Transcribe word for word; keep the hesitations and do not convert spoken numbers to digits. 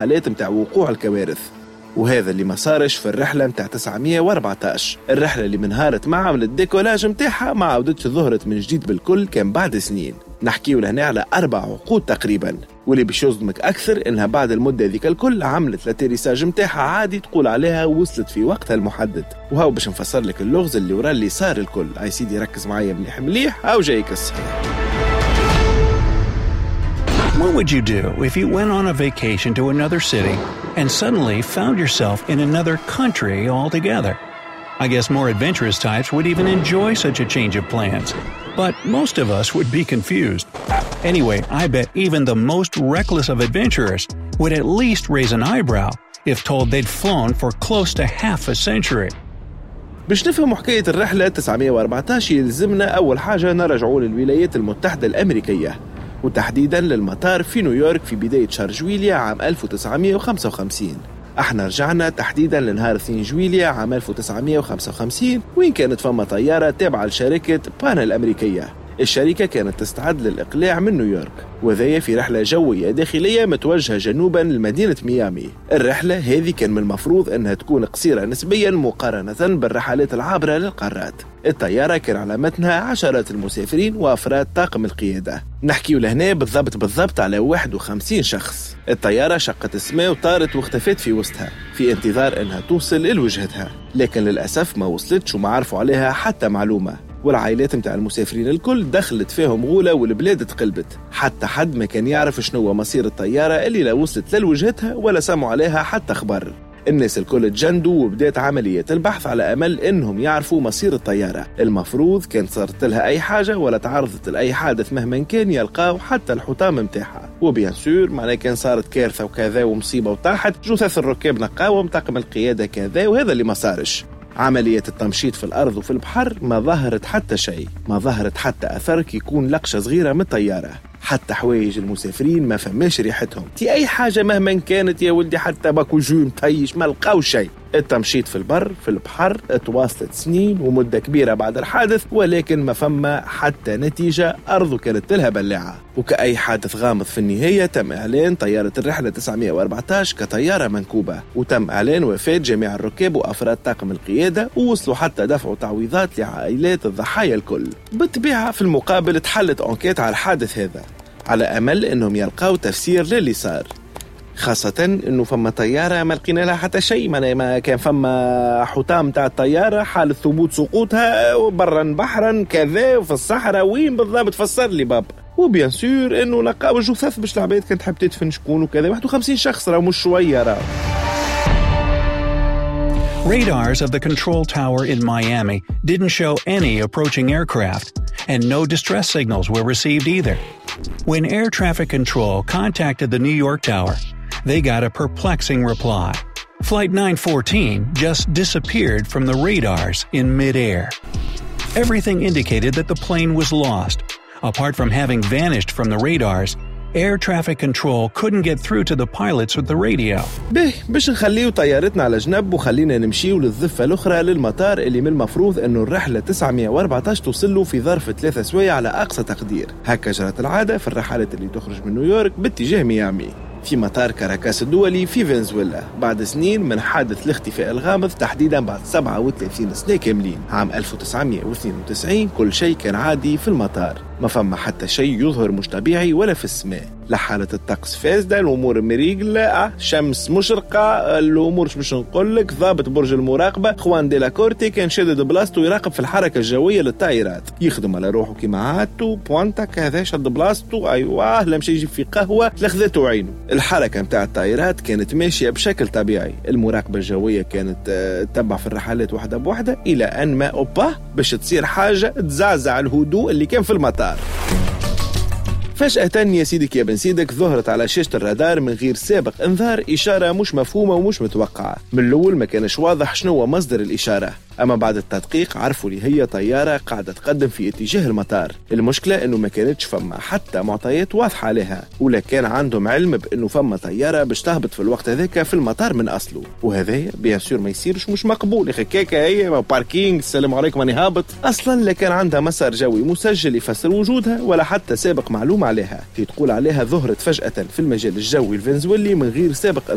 الحالات متاع وقوع الكوارث، وهذا اللي ما صارش في الرحلة متاع تسعمية وأربعتاش. الرحلة اللي من نهارت ما عملت décollage متاعها ما عاودتش ظهرت من جديد بالكل، كان بعد سنين. نحكيو لهنا على أربع عقود تقريبا. واللي باش يصدمك أكثر إنها بعد المدة ذيك الكل عملت l'atterrissage متاعها عادي، تقول عليها وصلت في وقتها المحدد. وهاو باش نفسر لك اللغز اللي ورا اللي صار الكل. اي سيدي ركز معايا مليح مليح، هاو جايك الصحيح. What would you do if you went on a vacation to another city and suddenly found yourself in another country altogether? I guess more adventurous types would even enjoy such a change of plans. But most of us would be confused. Anyway, I bet even the most reckless of adventurers would at least raise an eyebrow if told they'd flown for close to half a century. باش نفهموا حكاية الرحلة تسعمية وأربعتاش يلزمنا أول حاجة نرجعوا للولايات المتحدة الأمريكية، وتحديدا للمطار في نيويورك في بداية شهر جويليا عام ألف وتسعمية وخمسة وخمسين. احنا رجعنا تحديدا لنهار اثنين جويليا عام ألف وتسعمية وخمسة وخمسين، وين كانت فما طيارة تابعة لشركة بان الأمريكية. الشركة كانت تستعد للإقلاع من نيويورك، وذي في رحلة جوية داخلية متوجهة جنوبا لمدينة ميامي. الرحلة هذه كان من المفروض أنها تكون قصيرة نسبيا مقارنة بالرحلات العابرة للقارات. الطيارة كان على متنها عشرات المسافرين وأفراد طاقم القيادة. نحكي لهنا بالضبط بالضبط على واحد وخمسين شخص. الطيارة شقت السماء وطارت واختفت في وسطها في انتظار أنها توصل لوجهتها، لكن للأسف ما وصلتش وما عرفوا عليها حتى معلومة. والعائلات متاع المسافرين الكل دخلت فيهم غولة والبلاد تقلبت، حتى حد ما كان يعرف شنو مصير الطيارة اللي لا وصلت لوجهتها ولا سمعوا عليها حتى خبر. الناس الكل تجندوا وبدات عملية البحث على أمل إنهم يعرفوا مصير الطيارة. المفروض كان صارت لها أي حاجة ولا تعرضت لأي حادث مهما كان يلقاو حتى الحطام متاعها. و bien sûr معناها كان صارت كارثة وكذا ومصيبة وطاحت جثث الركاب نقاوم طاقم القيادة كذا، وهذا اللي ما صارش. عملية التمشيط في الأرض وفي البحر ما ظهرت حتى شيء، ما ظهرت حتى أثر كي يكون لقشة صغيرة من الطيارة. حتى حوايج المسافرين ما فماش ريحتهم، تي أي حاجة مهما كانت يا ولدي، حتى باكو جو مطيش ما لقاو شيء. التمشيط في البر في البحر تواصلت سنين ومدة كبيرة بعد الحادث، ولكن ما فما حتى نتيجة، أرضه كانت لها بلاعة. وكأي حادث غامض في النهاية تم إعلان طيارة الرحلة تسعمية وأربعتاش كطيارة منكوبة، وتم إعلان وفاة جميع الركاب وأفراد طاقم القيادة، ووصلوا حتى دفعوا تعويضات لعائلات الضحايا الكل. بالطبيعة في المقابل تحلت enquête على الحادث هذا على أمل أنهم يلقاو تفسير للي صار، خاصة انه فما طيارة ما لقينا لها حتى شيء، ما كان فما حطام تاع الطيارة، حالة ثبوت سقوطها برا بحرا كذا في الصحراء وين بالضبط، فسر لي بابا. و bien sûr انه لقاو جثث باش العباد كانت تحب تدفن شكون وكذا، واحد وخمسين شخص راه مش شوية راه. Radars of the control tower in Miami didn't show any approaching aircraft, and no distress signals were received either. When air traffic control contacted the New York tower, they got a perplexing reply. Flight nine fourteen just disappeared from the radars in midair. Everything indicated that the plane was lost. Apart from having vanished from the radars, air traffic control couldn't get through to the pilots with the radio. به باش نخليو طيارتنا على جنب وخلينا نمشيو للضفة الأخرى للمطار اللي من المفروض أنه الرحلة تسعمية وأربعتاش توصل له في ظرف ثلاثة سوايع على أقصى تقدير. هكا جرت العادة في الرحلات اللي تخرج من نيويورك باتجاه ميامي. في مطار كاراكاس الدولي في فنزويلا بعد سنين من حادث الاختفاء الغامض، تحديدا بعد سبعة وثلاثين سنة كاملين عام ألف وتسعمية واثنين وتسعين، كل شيء كان عادي في المطار، ما فما حتى شيء يظهر مش طبيعي ولا في السماء، لا حالة الطقس فاسدة، الأمور مريقلة، شمس مشرقة، الأمور مش نقول لك. ضابط برج المراقبة خوان ديلا كورتي كان شادد بلاصته يراقب في الحركة الجوية للطائرات، يخدم على روحه كيما عادته، بوانتا كذا شد بلاصته، أيوه لم شي يجيب في قهوة لخذته عينه. الحركة متاع الطائرات كانت ماشية بشكل طبيعي، المراقبة الجوية كانت تتبع في الرحلات واحدة بواحدة، إلى أن ما أوبا باش تصير حاجة تزعزع الهدوء اللي كان في المطار. فجأة يا سيدك يا بن سيدك ظهرت على شاشة الرادار من غير سابق انذار إشارة مش مفهومة ومش متوقعة. من الأول ما كانش واضح شنو هو مصدر الإشارة، اما بعد التدقيق عرفوا اللي هي طيارة قاعدة تقدم في اتجاه المطار. المشكلة انه ما كانتش فما حتى معطيات واضحة عليها، ولا كان عندهم علم بانه فما طيارة باش تهبط في الوقت هذاك في المطار من اصله. وهذايا bien sûr ما يصيرش، مش مقبول يا اخي، كيكة هي parking، السلام عليكم انا هابط. اصلا لا كان عندها مسار جوي مسجل يفسر وجودها ولا حتى سابق معلومة عليها، في تقول عليها ظهرت فجاة في المجال الجوي الفنزويلي من غير سابق.